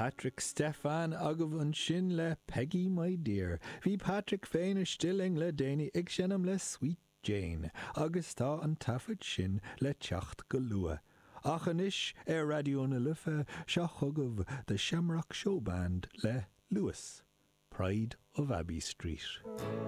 Patrick Stefan agaibh ansin le Peggy My Dear. Bhí Patrick féin istigh linn le déanaí ag seinm le Sweet Jane agus tá an taifead sin le teacht go luath. Ach anois ar Raidió na Life, seo chugaibh The Shamrock Showband le Luas, Pride of Abbey Street.